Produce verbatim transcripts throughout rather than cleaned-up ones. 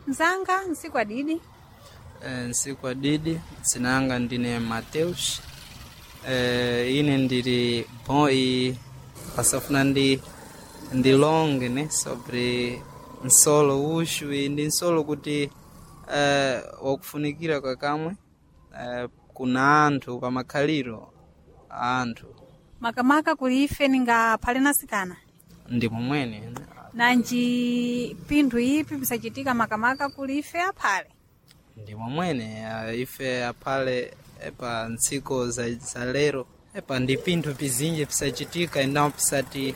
Mzanga nsiku adidi. Eh, nsiku adidi dzinanga ndine Mateus. Eh, ine ndili bom e pasafuna ndi ndilonge ne sobre nsolo uxu e ndi nsolo kuti eh, wakufunikira kakamwe eh, kuna anthu pamakhaliro a anthu. Makamaka kuli ife ninga phale nasikana. Ndi momwene. Nanji pinthu ipi pisachitika makamaka kuli ife aphale? Ndi momwene eh, ife aphale epa ntsiko za, za lero epa ndi pinthu pizinji pisachitika endawo pisati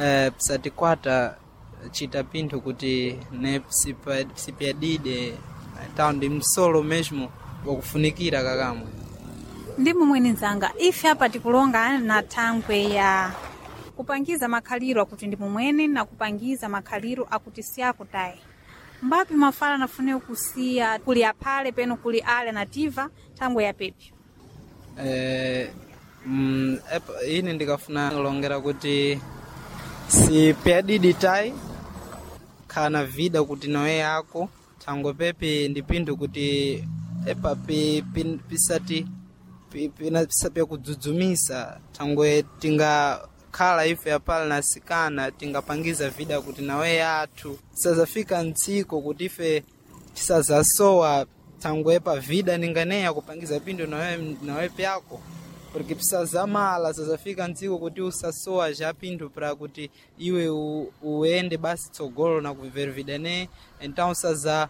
eh, pisatikwata chita pinthu kuti ne pisipa- pisipyadide tawo ndi msolo mesmo wakufunikira kakamwe. Ndi momwene nzanga, ife apa tikulonga na thangwe ya kupangiza makhaliro akuti ndi momwene na kupangiza makhaliro akuti siyakutayi. Mbapi mafala nafune kusiya kuli aphale peno kuli ale nativa thangwe ya pepyo? Eh, mm, epa, ine ndikafuna kulongera kuti sipyadidi tayi khana vida kuti nawe yako thangwe pepi ndi pinthu kuti epa pi, pi, pisati pi- pina- pisapyakudzudzumisa thangwe tingakhala ife apale nasikana tingapangiza vida kuti nawe yathu sazafika ntsiko kuti ife tisazasowa thangwe epa vida ninganeya kupangiza pinthu nawe, nawe pyako porque pisazamala sazafika ntsiko kuti usasowa ja pinthu pra kuti iwe u- uende basi tsogolo na kuviver vida ne então saza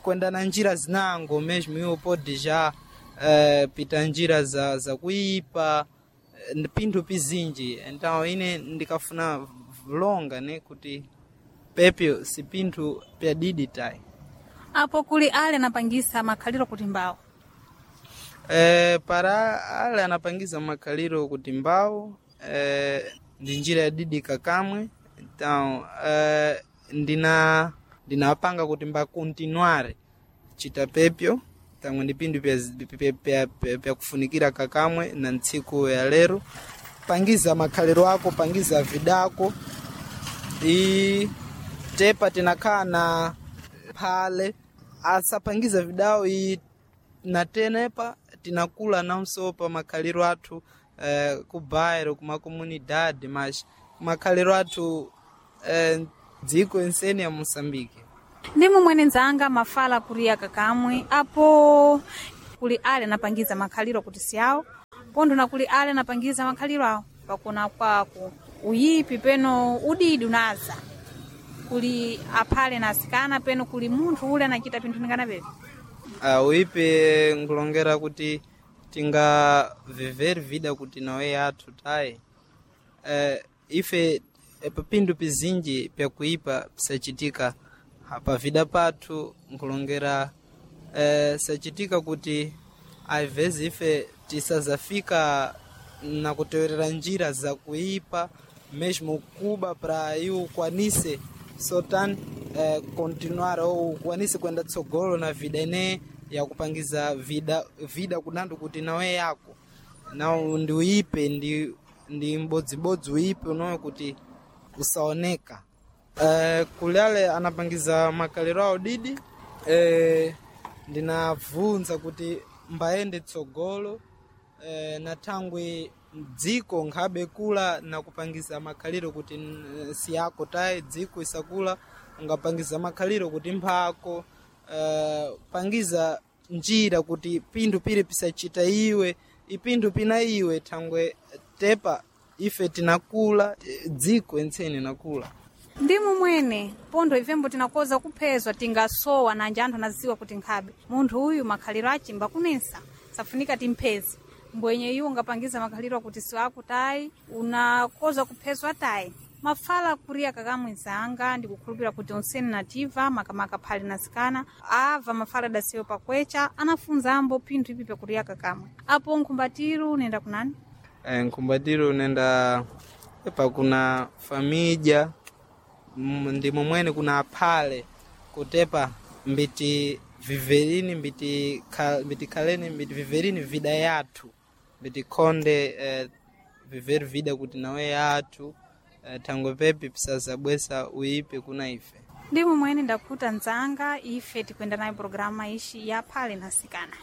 kwenda na njira zinango mesmo iwe pode já eh, pita njira za, za kuipa eh, pinthu pizinji. Então ine ndikafuna longa ne kuti pepyo si pinthu pyadidi tayi. Apo kuli ale anapangisa makhaliro kuti mbawo? Eh, para ale anapangiza makhaliro kuti mbawo eh, ndi njira yadidi kakamwe. Então eh, ndina ndinapanga kuti mbakontinuare chita pepyo tamwe ndi pinthu pya- pya- pya- pya- pyakufunikira kakamwe na ntsiku ya lero. Pangiza makhaliro ako, pangiza vidako i tepa tinakhala na phale asapangiza vidawo i na tenepa tinakula namso pa makhaliro athu eh, ku bairro kuma comunidade mas makhaliro athu eh, dziko ensene ya Moçambique. Ndi momwene nzanga mafala kuriya kakamwe. Apo kuli ale anapangiza makhaliro kuti siyawo pontho na kuli ale anapangiza makhaliro awo pakuna kwako uyipi peno udidi unaza kuli aphale na asikana peno kuli munthu ule anachita pinthu ningana pepi. Uh, uipe nkulongera kuti tinga viver vida kuti nawe yathu tayi uh, ife epa pinthu pizinji pyakuipa pisachitika pa vida pathu nkulongera uh, sachitika kuti às ife tisazafika na kutewerera njira za kuipa mesmo kuba pra iwe ukwanise sotan eh, continuar ou ukwanise kwenda tsogolo na vida ine yakupangiza vida vida kunandu kuti nawe yako na ndi uipe ndi ndi mbodzibodzi uipe unowe kuti usaoneka. Eh, kuliale anapangiza makalero awo didi eh, ndinabvunza kuti mbayende tsogolo eh, na thangwe dziko nkhabe kula na kupangiza makhaliro kuti eh, siyako tayi dziko isakula ungapangiza makhaliro kuti mphako eh, pangiza njira kuti pinthu pili pisachita iwe ipinthu pina iwe thangwe tepa ife tinakula eh, dziko entsene nakula. Ndi momwene pontho ifembo tinakoza kuphezwa tingasowa nanje anthu anaziwa kuti nkhabe munthu uyu makhaliro achimba kunensa safunika timpheze mbwenye iwo ungapangiza makhaliro akuti siwakutayi unakoza kuphezwa tayi. Mafala kuriya kakamwe nzanga ndikukhulupira kuti onsene nativa makamaka phale nasikana ava mafala adasiwe pakwecha anafunza ambo pinthu ipi pyakuriya kakamwe. Apo nkhumbatiro nenda kunani? Eh, nkhumbatiro nenda epa kuna famija mm, ndi momwene kuna aphale kutepa mbiti viverini mbiti, kha, mbiti khaleni mbiti viverini vida yathu mbiti khonde eh, viveri vida kuti nawe yathu eh, thangwe pepi pisazabwesa uipe kuna ife. Ndimo mwene ndakhuta nzanga, ife tikwenda nayo programa ishi ya phale na sikana.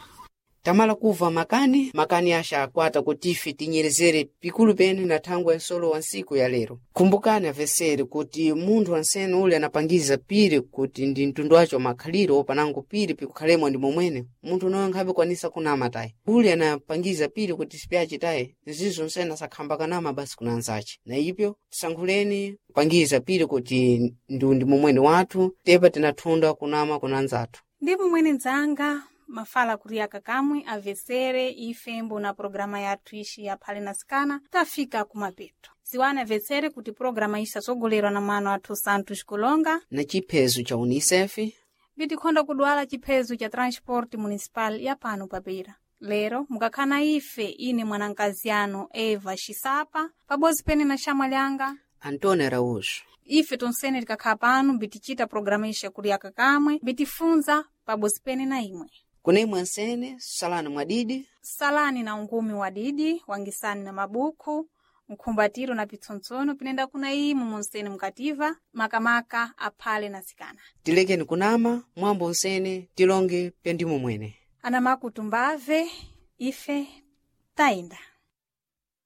Tamala kuva makani, makani axa akwata kuti ife tinyerezere pikulu pene na thangwi ya nsolo wa ntsiku ya lero. Kumbukani avesere kuti munthu wansene ule anapangiza piri kuti ndi mtundu wace wa makhaliro panango piri pikukhalemwa ndi momwene, munthu unoyo nkhabe kwanisa kunama tayi. Ule anapangiza piri kuti sipyace tayi, nzizo nsene asakhamba kanama basi kuna anzace. Na ipyo tisankhuleni kupangiza piri kuti ndu ndi momwene wathu, tepa tinathunda kunama kuna anzathu. Ndimo mwene nzanga, mafala kuriyaka kamwe avesere ife mbona programa yathu ishi ya phale na sikana tafika kumapeto. Ziwani avesere kuti programa ishi tasogolerwa na mano athu Santos Kulonga Na chiphezo cha UNICEF bitikhonda kudwala chiphezo cha transport municipal ya pano papira. Lero mukakhana ife ine mwanankazi anu Eva Xisapa pabodzi pene na xamwa lyanga Antônio Araújo. Ife tonsene tikakhala pano bitichita programa ishi yakuliyaka kamwe bitifunza pabodzi pene na imwe. Kunemwe ansene, salani mwadidi, Salani na ungumi wa didi, wangisani na mabuku, mkhumbatiro na pitsontsono pinenda kuna imu munsene mukativa, makamaka aphale na sikana. Tilekeni kunama, mwambo nsene, tilonge pyandimo mwene. Anamakutumbave, ife tayenda.